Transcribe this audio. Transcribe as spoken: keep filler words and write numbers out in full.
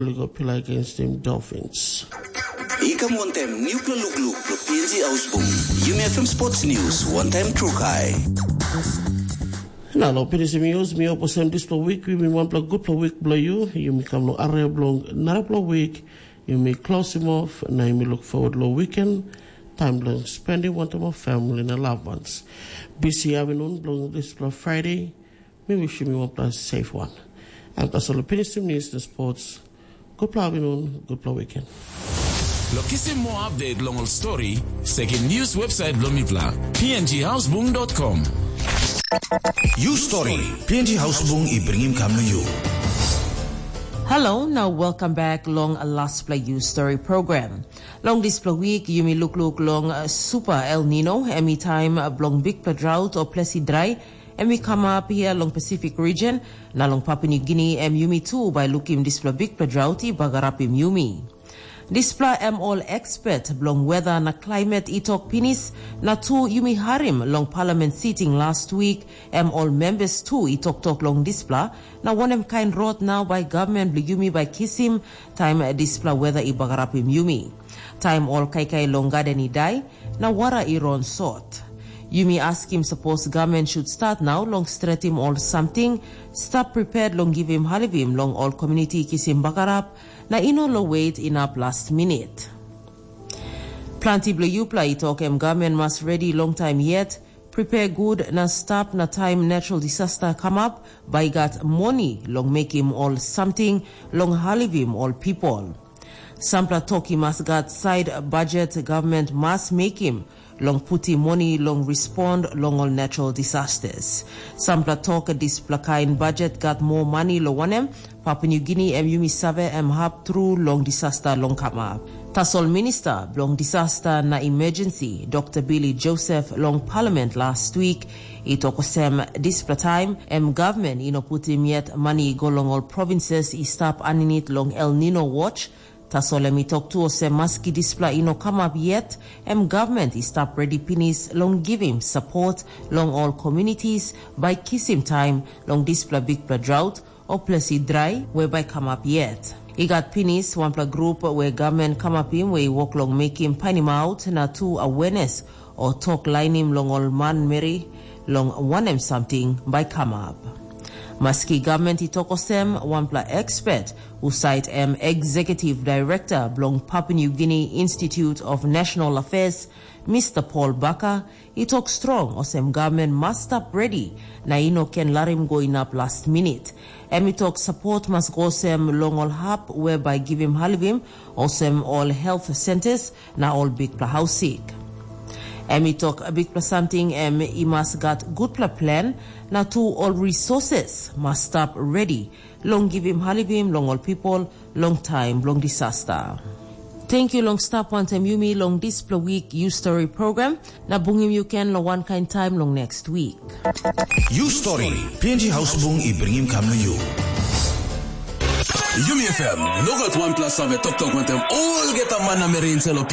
Ol i go pilai against the Dolphins. I kam wantaim newpela lukluk bilong P N G Ausbung. Yumi F M Sports News, wantaim trukai. Na long pinisim news, mi hope olsem dispela wik yumi wanpela gutpela wik bilong yu. Yumi kam long area bilong narapela wik, yumi klosim off, na yumi look forward long weekend. Taim bilong spending wantaim ol family na loved ones. Bisi avinun bilong dispela Friday, mi wishim yu wanpela safe one. Em tasol pinisim news na sports. Gutpela avinun, gutpela weekend. Lo kisim moa update long ol stori, sekim news website bilong mipela, P N G Hausbung dot com. You story, P N G Hausbung i bringim kam na you. Hello, now welcome back long a last play you story program. Long dispela week, yumi lukluk long uh, Super El Nino, em i taim uh, bilong bikpela drought o plesi drai, em i kamap hia long Pacific region, na long Papua New Guinea, em yumi tu bai lukim dispela bikpela drought i bagarapim yumi. Dispela em ol expert bilong weather na climate i tok pinis, na tu yumi harim long parliament sitting last week, em ol members tu i toktok long dispela, na wanem kain rot nau bai government bilong yumi bai kisim, taim dispela weather i bagarapim yumi. Taim ol kaikai long garden i dai, na wara i ron sot. Yumi askim sapos government should start nau long stretim ol samting, stap prepared long givim halivim long ol community kisim bagarap, na i no lo wait inap last minute. Planti bilong yupela i tok em government mas ready long time yet, prepare good na stap na time natural disaster kamap, bai gat moni long mekim ol samting long halivim ol people. Sampela tok i mas gat side budget government mas mekim long putim moni long respond long ol natural disasters. Sampela tok dispela kain budget gat moa mani lo wanem, Papua New Guinea em yumi save em hap tru long disaster long kamap. Tasol Minista bilong Disaster na Emergency, Dr. Billy Joseph long Parliament last week, i tok olsem dispela taim em government i no putim yet mani i go long ol provinces i stap aninit long El Nino watch. Tasol em i tok tu olsem maski dispela i no kamap yet, em government i stap redi pinis long givim sapot long ol communities bai kisim taim long dispela bikpela drought o plesi drai we bai kamap yet. I gat pinis wanpela grup we government kamapim we i wok long mekim painimaut na tu awenes o tok lainim long ol manmeri long wanem samting bai kamap. Maski government i tok olsem, wanpela expert husat em executive director bilong Papua New Guinea Institute of National Affairs, Mr. Paul Baka, i tok strong olsem government mas stap redi na i no ken larim go inap last minute. Em i tok sapot mas go olsem long ol hap we bai givim halivim, olsem ol health centers na ol bikpela haus sik. Em i tok bikpela samting em i mas gat gutpela plan na tu ol resources mas stap redi long givim halivim long ol pipol long taim bilong disasta. Tenkyu long stap wantaim yumi long dispela wik yu stori program, na bungim yu ken long wankain taim long next wik. You story, P N G Hausbung i bringim kam na you. Yumi F M, nogat wanpela save toktok wantaim olgeta man na meri insait long